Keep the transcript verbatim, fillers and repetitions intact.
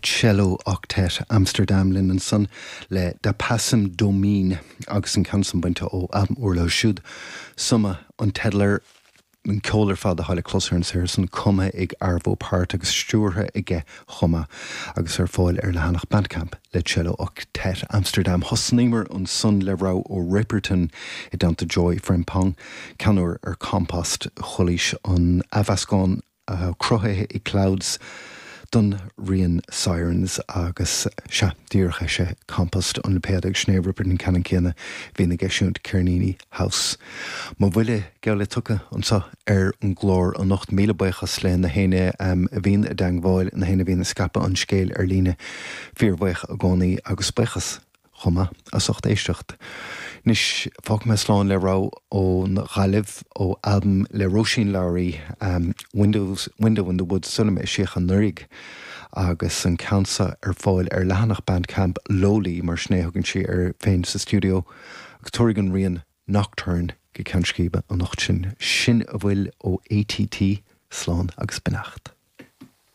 Cello Octet Amsterdam linn ansan le Da Passim Domine agus an ceann san bainte ó albam úr leo siúd. Summa an teideal air an ceol ar fad atá le clos ar an saothar san cumtha ag Arvo Pärt agus stiúrtha aige chomh maith agus ar fáil ar leathanach Bandcamp le Cello Octet Amsterdam. Thosnaíomar ansan le rogha ó Ripperton i dteannta Joy Frempong, ceann úr ar Compost Chulaois an athmheascán uh, cruthaithe i Clouds don rian Sirens agus sea díreach é sé Compost an lipéad ag Sinéad Ripperton ceann céanna bhí na geisiúnt Cernini House. Mo bhuille geall le tugtha anseo ar an gclár anocht míle buíochas le na héinne um, a bhíonn i dteagmháil na héinne a bhíonn ag scaipeadh an scéil ar líne fíorbhuíoch i gcónaí agus buíochas chomh maith as ucht éisteacht. Anois fágfaidh mé slán le rogha ón Ghaillimh ó albam le Róisín Lowry um, Windows, Window in the Woods Sunam i síocha nurig agus an ceann seo ar fáil ar leathanach Bandcamp Lowly mar sin a thugann sí uirthi féin sa stiúideo agus tabharfaidh an rian Nocturne go ceann scríbe anocht sin sin a bhfuil ó ATT slán agus beannacht.